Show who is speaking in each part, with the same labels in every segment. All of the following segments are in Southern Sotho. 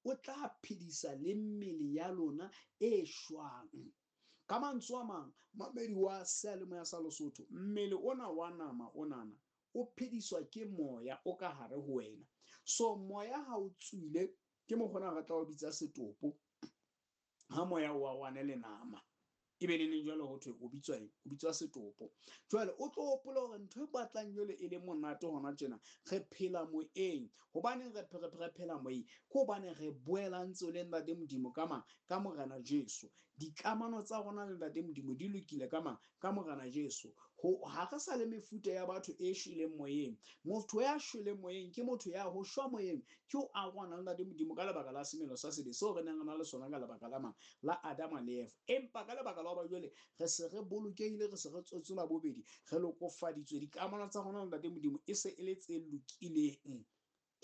Speaker 1: o tla phedisa le mmele ya lona e shwang. Ka mantswe a mang, mamedi wa seyalemoya sa Lesotho, mmele ona wa nama onana o phediswa ke moya o ka hare ho wena. So moya ha o tswile, ke mokgona re tla o bitsa setopo. Ha moya o arohane le nama, ebe le neng jwale ho thwe o bitswa eng? O bitswa setopo. Jwale o tlo hopola hore ntho e batlang jwale e le monate hona tjena, re phela moyeng. Hobaneng re phela moyeng? Ke hobane re boelantse le Ntate Modimo ka mang? Ka Morena Jesu. Dikamano tsa rona le Ntate Modimo di lokile ka mang? Ka Morena Jesu. Ho ha re sa le mefuta ya batho e shweleng moyeng. Motho ya shweleng moyeng ke motho ya ho shwa moyeng ke ho arohana le Ntate Modimo ka lebaka la semelo sa sebe seo re neng re na le sona ka lebaka la mang? La Adama le Eva. Empa ka lebaka la hoba jwale re se re bolokehile, re se re tswetswe la bobedi, re lokofaditswe, dikamano tsa rona le Ntate Modimo e se e le tse lokileng.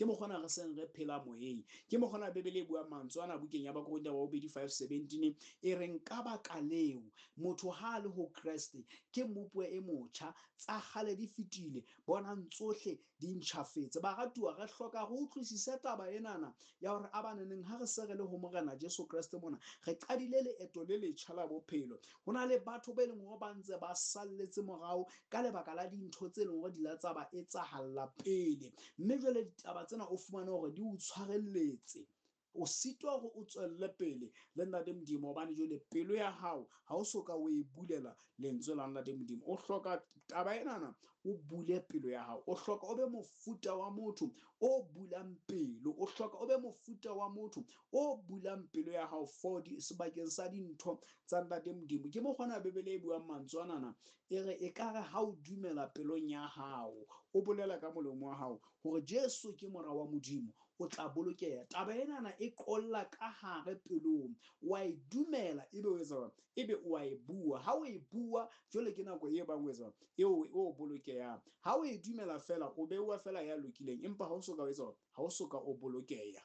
Speaker 1: Ke mokgona re seng re phela moyeng. Ke mokgona Bibele e buang mantswe ana bukeng ya Bakorinthe ba bobedi 5:17 e reng ka baka leo motho ha a le ho Kreste ke mmopuwa e motjha, tsa kgale di fetile, bonang tsohle di ntjhafetse. Baratuwa, re hloka re utlwisise taba enana ya hore a baneneng ha re se re le ho Morena Jesu Kreste mona, re qadile leeto le letjha la bophelo. Ho na le batho ba e leng hore ba ntse ba salletse morao ka lebaka la dintho tse leng hore di la tsa ba etsahalla pele. Mme jwale ditaba tsena o fumane hore di o tshwarelletse. O sitwa hore o tswelle pele le Ntate Modimo, hobane jwale pelo ya hao ha o so ka o e bulela lentswe la Ntate Modimo. O hloka taba enana, o bule pelo ya hao. O hloka o be mofuta wa motho o bulang pelo. O hloka o be mofuta wa motho o bulang pelo ya hao for di sebakeng sa dintho tsa Ntate Modimo. Ke mokgona Bibele e buang mantswe anana, e re ekare ha o dumela pelong ya hao, o bolela ka molomo wa hao hore Jesu ke mora wa Modimo, o tla bolokeha. Taba enana e qolla ka hare pelong, wa e dumela, ebe o etsa jwang? Ebe o a e bua. Ha o e bua, jwale ke nako e bang o etsa jwang? Eo o bolokehang. Ha o e dumela fela, o beuwa fela ya lokileng, empa ha o soka o etsa jwang? Ha o soka o bolokeha.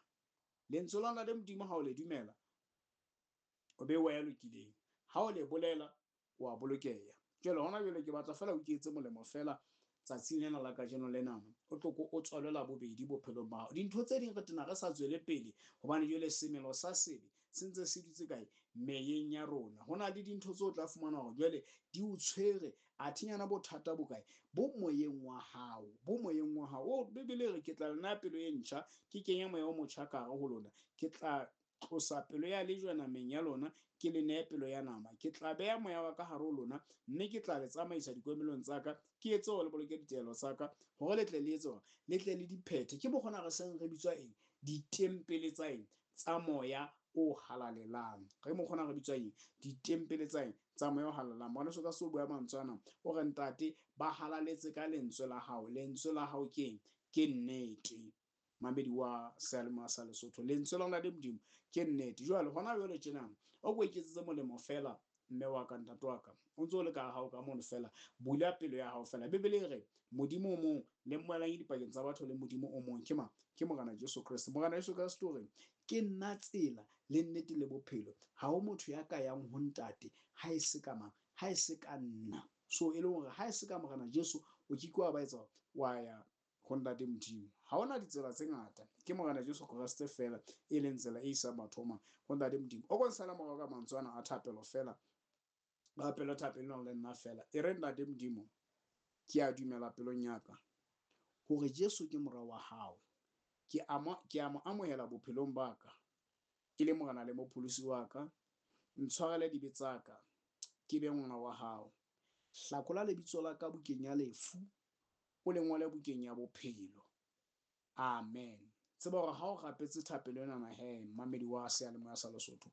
Speaker 1: Lentswe la Ntate Modimo ha o le dumela, o beuwa ya lokileng. Ha o le bolela, o a bolokeha. Jwale hona jwale ke batla fela o ke etse molemo fela tsatsing lena la kajeno lenana, o tlo ko o tswalwe la bobedi bophelong ba hao. Dintho tse ding re tena re sa tswele pele, hobane jwale semelo sa sebe se ntse se dutse kae? Meyeng ya rona. Ho na le dintho tseo o tla fumana hore jwale di o tshwere, athinyana bothata bo kae? Bo moyeng wa hao, bo moyeng wa hao. O Bibele e re ke tla le naya pelo e ntjha, ke kenya moya o motjha ka hare ho lona. Ke tla tlosa pelo ya lejwe nameng ya lona, ke le neye pelo ya nama. Ke tla beha moya wa ka hare ho lona, mme ke tla le tsamaisa dikomelong tsa ka, ke etse hore le boloke ditaelo tsa ka, hore le tle le etse hore le tle le di phethe. Ke mokgona re seng re bitswa eng? Ditempele tsa eng? Tsa moya o halalelang. Re mokgona re bitswa eng? Ditempele tsa eng? Tsa moya o halalelang. Ngwaneso ka se o bua mantswe ana, o re ntate ba halaletse ka lentswe la hao. Lentswe la hao ke eng? Ke nnete. Mamedi wa seyalemoya sa Lesotho, lentswe la Ntate Modimo ke nnete. Jwale hona jwale tjena o ko iketsetse molemo fela, mme wa ka, ntate wa ka, o ntse o le ka hao ka mono fela, bula pelo ya hao fela. Bibele e re Modimo o mong le mmoelanyi dipakeng tsa batho le Modimo o mong ke mang? Ke Morena Jesu Kreste. Morena Jesu Kreste o re ke nna tsela le nnete le bophelo, ha ho motho ya ka yang ho ntate ha e se ka mang? Ha e se ka nna. So e leng hore ha e se ka Morena Jesu o ke ke wa ba etsa wa ya ho Ntate Modimo. Ha hona ditsela tse ngata, ke Morena Jesu Kreste fela e leng tsela e isang batho ho mang? Ho Ntate Modimo. O ko nsala morao ka mantswe ana a thapelo fela, rapelo thapelo le nna fela. E re Ntate Modimo, ke a dumela pelong ya ka hore Jesu ke mora wa hao. Ke a mo amohela bophelong ba ka ke le Morena le mopholosi wa ka. Ntshwarele dibe tsa ka, ke be ngwana wa hao. Hlakola lebitso la ka bukeng ya lefu, o le ngole bukeng ya bophelo. Amen. Tseba hore ha o rapetse thapelo enana he, mmamedi wa seyalemoya sa Lesotho,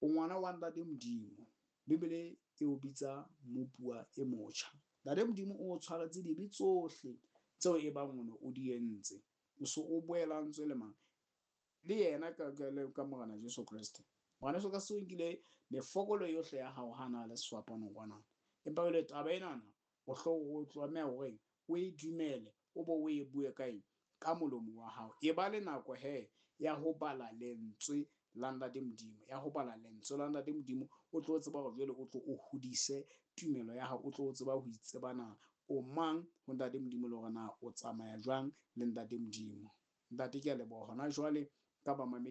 Speaker 1: o ngwana wa Ntate Modimo. Bibele e o bitsa mmopuwa e motjha. Ntate Modimo o tshwaretse dibe tsohle tseo e bang o ne o di entse. O so o boelantswe le mang? Le yena ka Morena Jesu Kreste. Morena Jesu Kreste o nkile mefokolo yohle ya hao ha na le sefapano kwana. Empa jwale taba enana o o tlameha hore o e dumele, o bo o e bue ka eng? Ka molomo wa hao. E ba le nako he ya ho bala lentswe la Ntate Modimo, ya ho bala lentswe la Ntate Modimo, o tlo tseba hore jwale o tlo o hodise tumelo ya hao, o tlo tseba ho itseba na o mang ho Ntate Modimo le hore na o tsamaya jwang le Ntate Modimo. Ntate ke a leboha hona jwale ka bamamedi.